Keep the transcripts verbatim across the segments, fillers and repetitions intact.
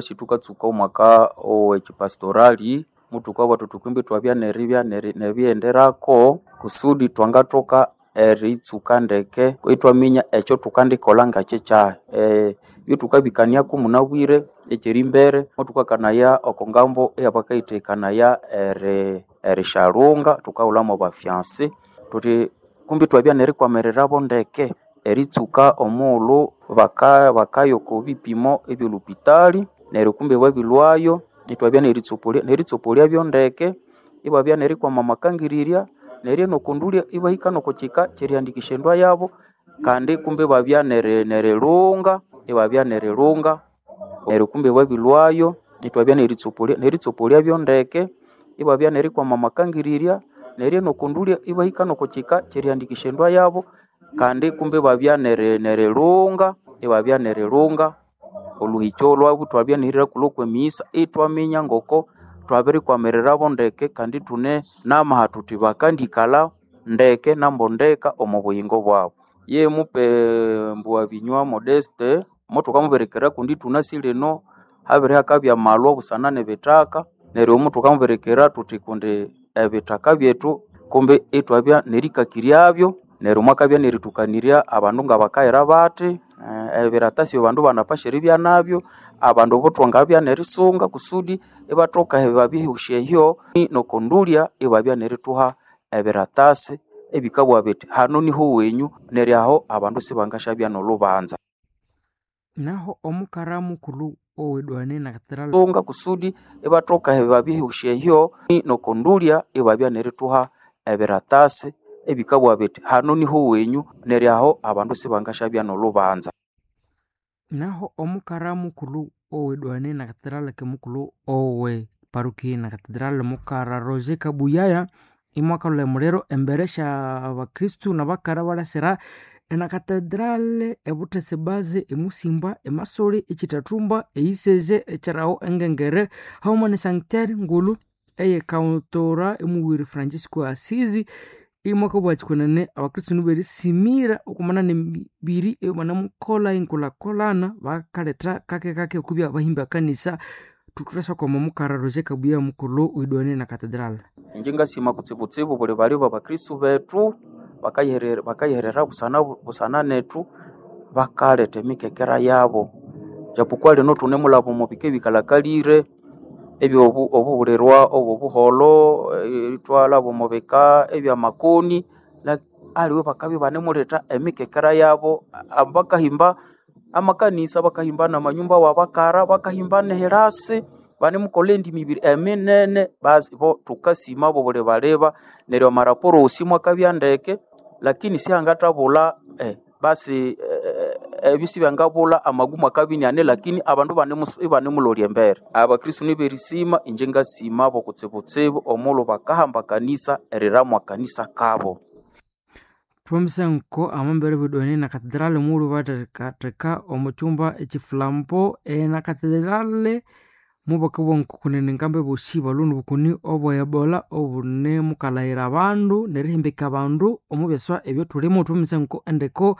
Tukatsuka omwaka owekipastorali muthukabugha thuthi kumbi ithwabya neribya nerighenderako kusudi thwangathoka eritsuka ndeke ithwaminya ekyothukandikolha ngakyi kyahi. Ebyathukabikaniaku munabwire ekyerimbere muthukakanaya oko ngambo eyabakayithekanaya eri erishalhunga thukaghulha mwabafyansi thuthi kumbi ithwabya nerikwamirirabo ndeke eritsuka omughulhu baka bakaya oko bipimo ebyolhupitali neryo kumbi babilhwayo ithwabya neritsobolya neritsobolyabyo ndeke ibabya nerikwama amakangirirya neryo nokondulya ibahika nokukyika kyerihandikisya endwa yabo kandi kumbi ibabya neri nerilhunga ibabya nerilhunga neryo kumbi babilhwayo ithwabya neritsobolya neritsobolyabyo ndeke ibabya nerikwama amakangirirya neryo nokondulya ibahika nokukyika kyerihandikisya endwa yabo kandi kumbi ibabya neri nerilhunga ibabya nerilhunga olhuhikyo lwabu ithwabya nerihirakulhu okwemiyisa ithwaminya ngoko thwabirikwamirirabo ndeke kandi ithune namaha thuthi bakandikalha ndeke nambondeka omo buyingo bwabu. Ye mupe Mbughabinywa Modeste muthukamubirikira kundi ithunasi lino habirihakabya amalhwa busana nebithaka neryo muthukamubirikira thuthi kundi ebithaka byethu kumbi ithwabya nerikakiryabyo neryo mwakabya nerithukanirya abandu ngabakayira bathi ebiratasi abandu banapasha eribya nabyo abandu abo thwangabya nerisunga kusudi ibathoka eribabihusya ehyo nokondulya ibabya nerithuha ebiratasi ebikabugha bithi hano niho wenyu neryo aho abandu sibangasyabya nolhubanza. Naho omukara mukulhu owedwane nakatedrali Sunga kusudi ibathoka eribabihusya ehyo nokondulya ibabya nerithuha ebiratasi ebikabugha bithi hano niho wenyu neryo aho abandu sibangasyabya nolhubanza. Naho omukara mukulhu owedwane nakatedrali mukulhu owe parukia nakatedrali mukara Roger Kabuyaya imwakalhwa emuliro embere sya abakristu nabakara abalhasira enakatedrali ebuthesa ebaze emusimba emasoli ekyithathumba eyiseze ekyiraho engengere haghuma ne sanctuary ngulhu eyekautora emughwiri Francisco Asizi imwakabugha kwenene abakristu niberisimira okwamana nemibiri eyabanamukolha enkulhakulhana bakaletha kakekake okubya bahimba ekanisa thuthasyakwama omukara Roger Kabuya mukulhu owedwane nakatedrali. Inje ngasima kutsibutsibu buli bali babakristu bethu bakayiherera bakayiherera busana busana nethu bakaletha emikekera yabo japokuwa lino thunemulhaba omo bika ebikalhakalire ebyobu obubulirwa obobuholho ithwalhaba omo bika ebyamakoni aliwe bakabya ibanemuletha emikekera yabo bakahimba amakanisa bakahimba namanyumba wabakara bakahimba nehirasi banemukolha endi mibiri eminene basi bo thukasima abo buli baleba neryo amaraporo wosi mwakabya ndeke lakini sihangathabulha eh, basi ebyo sibyangabulha amagumu akabya iniane lakini abandu ibanemulolya embere. Abakristu niberisima inje ngasimabo kutsibutsibu omughulhu bakahamba kanisa eriramwa kanisa kabo. Thwamisanko amambere bwedwane nakatedrali omughulhu bathekatheka omo kyumba ekyifulambo enakatedrali mubakabugha nkokunene engambo ebosi balhwe nobukoni obwe ebola obunemukalhaghira abandu nerihimbika abandu omo byaswa ebyathulimo. Thwamisanko endeko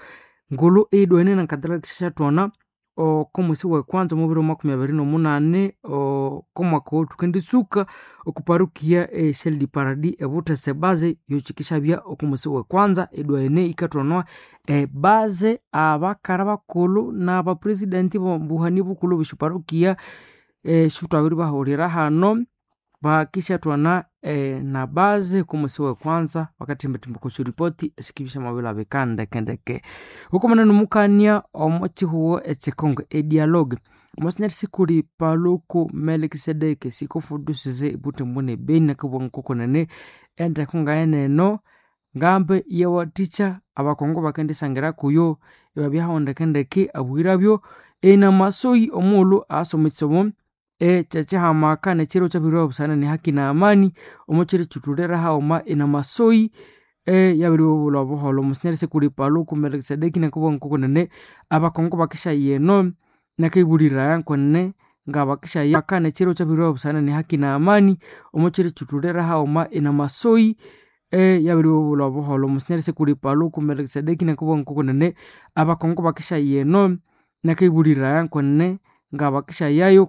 ngulhu eyidwene nakatedrali syathwana oko mwesi wekwanza omubiro makumi abiri nomunani oko mwaka owo thukenditsuka oko parukia e Ciel du Paradis ebuthesa ebaze yokyikisabya oko mwesi wekwanza edwene yikathwanwa ebaze abakara bakulhu nabapresident bobuhani bukulhu obwesyaparukia esithwabiribahulira hano bakisyathwana nabaze oko mwesi wekwanza bakathembathemba okwa syaripoti esikibya syamabilhabika ndekendeke. Hukamana nomukania omo kyihugho ekyekongo edialogue omwasinyali sikuli Paluku Melkisedeki sikofudusize ebuthembo nebeni akabugha ngokunene endeko ngayeneno ngambe iyawathikya abakongo bakendisangira kuyo ibabyaho ndekendeke abwirabyo enamasoyi omughulhu asoma ekisomo ekyekihamaka nekyiro kyabiribwa busana nehaki na amani omo kyiro kyithulire haghuma enamasoyi eyabiribabulha obuholho. Omwasinyali sikuli Paluku Melkisedeki nakabugha ngokunene abakongo bakisyaghaya eno nakayibuliraya kwenene ngabakisyaghaya nekyiro kyabiribwa busana nehaki na amani omo kyiro kyithulire haghuma enamasoyi eyabiribabulha obuholho. Omwasinyali sikuli Paluku Melkisedeki nakabugha ngokunene abakongo bakisyaghaya eno nakayibuliraya kwenene ngabakisyayayo.